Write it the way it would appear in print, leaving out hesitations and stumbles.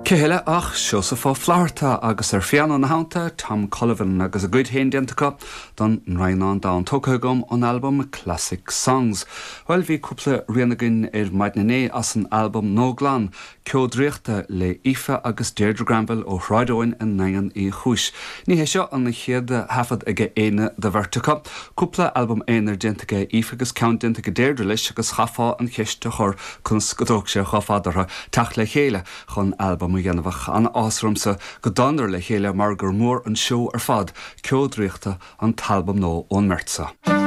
Cé heile ach Seosamh Ó Flatharta agus ar phianó ina theannta, Tom Cullivan agus a gcuid féin déanta acu don nDroighneán Donn, tógtha agam ón albam Classic Songs. Bhuel, bhí cúpla rian againn ar maidin inné as an albam Nua Glan, Ceo Draíochta le Aoife agus Deirdre Granville ó Shráid Eoin i nDaingean Uí Chúis. Ní hé seo an chéad thaifead ag éinne de bheirt acu. Cúpla albam aonair déanta ag Aoife agus ceann déanta ag Deirdre leis agus chaithfeá an cheist a chur conas go dtóg sé chomh fada orthu teacht le chéile chun albam a dhéanamh ach an-áthas ormsa go dtánadar le chéile mar gur mór an seó ar fad Ceo Draíochta an t-albam nua ón mbeirt seo.